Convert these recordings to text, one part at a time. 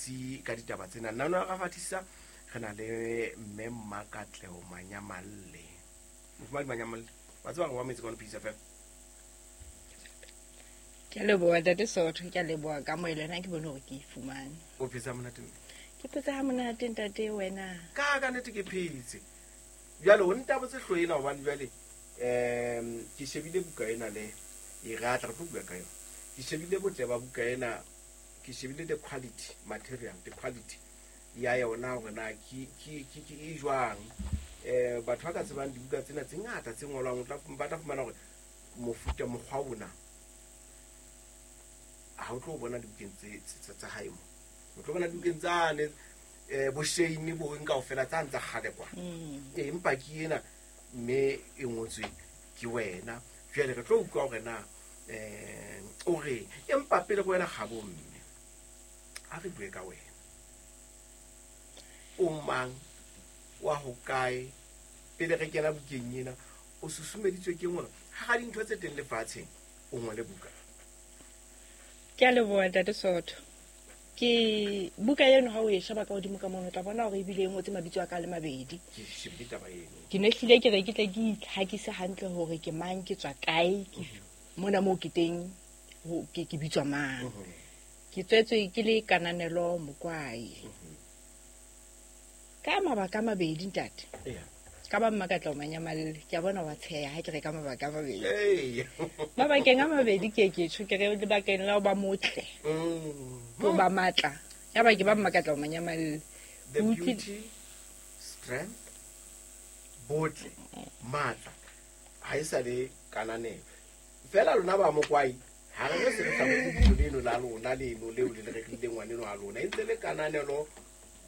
batsi ka ditaba tsena. Nna no ra fatisa re na le mme Mmakatleho Manyamalle. Mofumahadi Manyamalle, wa tseba re wa metse kwano Peace FM. Ke a leboha ntate Sotho, ke a leboha ka moelo ena ke bone hore ke e fumane. O phetse ha monate mme? Ke phetse ha monate ntate wena. Ka nnete ke phetse. Jwale o ntabotse hloho ena hobane jwale ke shebile buka ena le e ratla re tlo bua ka yona. Ke shebile botle ba buka ena, ke shebile the quality material, the quality ya yona hore na ke e jwang. Batho ba ka tsebang dibuka tsena tse ngata tse ngolwang ba tla fumana hore mofuta mokgwa ona ha o tlo bona dibukeng tsa hae mo. O tlo bona dibukeng tsane bo Shane bo eng kaofela tsane tsa kgale kwa. Empa ke ena mme e ngotswe ke wena. Jwale re tlo utlwa hore na o reng. Empa pele go wena kgabo mme, ha re bue ka wena. O mang, wa ho kae, pele re kena bukeng ena, o susumeditswe ke eng hore hara dintho tse teng lefatsheng o ngole buka? Ke a leboha ntate Sotho. Ke buka eno ha o e sheba ka hodimo ka mono, o tla bona hore ebile e ngotse mabitso a ka le mabedi. Ke shebile taba eno. Ke ne hlile ke re ke tle ke itlhakise hantle hore ke mang, ke tswa kae, ke mona moo ke teng, ke bitswa mang. Ke tswetswe ke le Kananelo Mokwai. Ka mabaka a mabedi ntate. Ka ba Mmakatleho Manyamalle, ke a bona wa tsheha ha ke re ka mabaka a mabedi. Mabakeng a mabedi ke ke tjho, ke re lebakeng la ho ba motle. Ho ba matla. Ya ba ke ba Mmakatleho Manyamalle. The Utlwi- beauty, strength, botle, matla. Ha e sa le kananelo. Fela lona ba Mokwai, ha re re se re hlabotse lebitso leno la lona leno leo le le rerileng ngwaneno wa lona. E ntse le Kananelo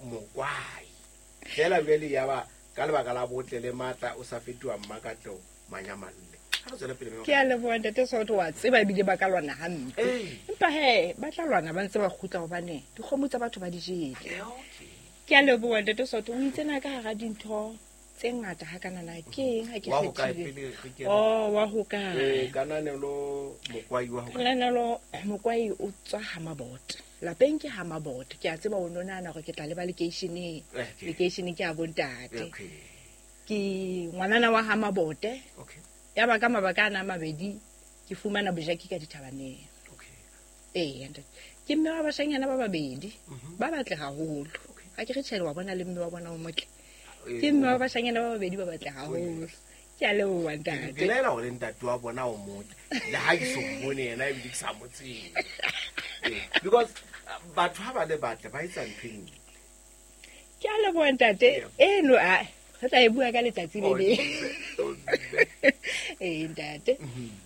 Mokwai. Fela jwale ya ba ka lebaka la botle le matla o sa fetoha Mmakatleho Manyamalle. Ha re tswele pele mme Ke a leboha ntate Sotho, wa tseba ebile ba ka lwana hampe. Empa he, ba tla lwana ba ntse ba kgutla hobane dikgomo tsa batho ba di jele. Ke a leboha ntate Sotho, o itse na ka hara dintho tse ngata ha kana na ke eng ha ke Wa ho kae kgethile? pele re kena? Oh, wa ho kae? Kananelo Mokwai wa ho kae? Kananelo Mokwai o tswa ha Mabote. Lapeng ke ha Mabote. Ke a tseba o no nahana hore ke tla leba lekeisheneng. Lekeisheneng ke a bontate. Ke ngwanana wa ha Mabote. Ya ba ka mabaka ana a mabedi ke fumana bojaki ka dithabaneng. Ntate. Ke mme wa bashanyana ba babedi. Ba batle haholo. Ha ke re tjhe, wa bona le mme wa bona o motle. Ke mme wa bashanyana ba babedi ba batle haholo. Ke a leboha ntate. Ke laela hore ntate wa bona o motle. Le ha ke so mmone yena ebile ke sa mo tsebe. Because batho ha ba le batle ba etsa ntho e nngwe. Ke a leboha ntate. Eno a re tla e bua ka letsatsi le leng. Ntate.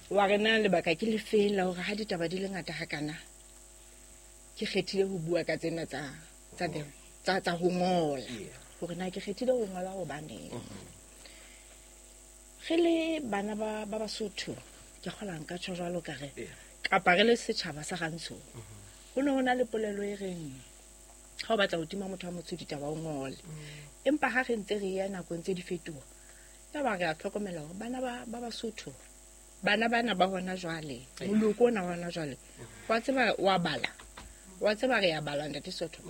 Wa re na lebaka ke le feng la hore ha ditaba di le ngata hakana ke kgethile ho bua ka tsena tsa ho ngola. Hore na ke kgethile ho ngola hobaneng. Re le bana ba Basotho, ke kgola nka tjho jwalo ka re, kapa re le setjhaba sa Rantsho. Ho ne ho na le polelo e reng ha o batla ho tima motho wa motsho ditaba o ngole. Empa ha re ntse re ya nakong tse di fetoha, ya ba re a hlokomela hore bana ba Basotho, bana bana ba hona jwale, moloko ona wa hona jwale, wa tseba wa bala, wa tseba re ya bala ntate Sotho.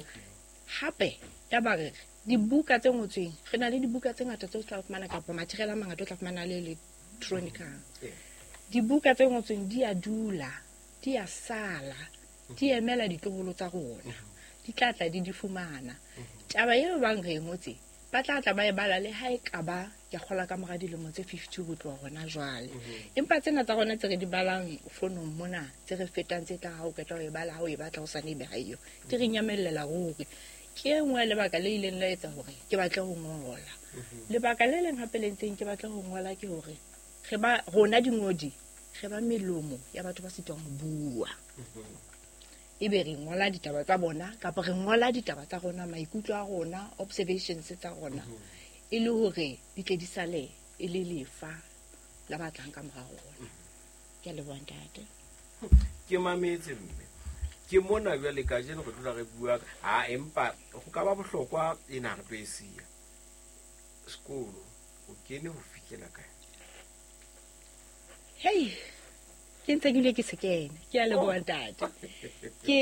Hape ya ba re dibuka tse ngotsweng, re na le dibuka tse ngata tse o tla fumana kapa material a mangata o tla fumana le electronic. Dibuka tse ngotsweng di a dula, di a sala, di emela ditloholo tsa rona. Di tla tla di di fumana. Taba eo bang re e ngotse, ba tla tla ba e bala le ha e ka ba ke kgola ka mora dilemo tse 50 ho tloha hona jwale. Empa tsena tsa rona tse re di balang fonong mona, tse re fetang tse tla ha o qeta ho e bala, ha o e batla ho sane ebe ha eyo, di re nyamellela ruri. Ke e nngwe ya lebaka le ileng la etsa hore ke batle ho ngola. Lebaka le leng hape le ntseng ke batle ho ngola ke hore re ba rona dingodi, re ba melomo ya batho ba sitwang ho bua. Ebe re ngola ditaba tsa bona kapa re ngola ditaba tsa rona, maikutlo a rona, observations tsa rona, e le hore di tle di sale e le lefa la ba tlang ka mora rona. Ke a leboha ntate. Ke mametse mme. Ke mona jwale kajeno re dula re bua ha empa ho ka ba bohlokwa ena re tlo e siya. Sekolo o kene ho fihlela kae? Hei, ke ntse ke bile ke se kene. Ke a leboha ntate. Ke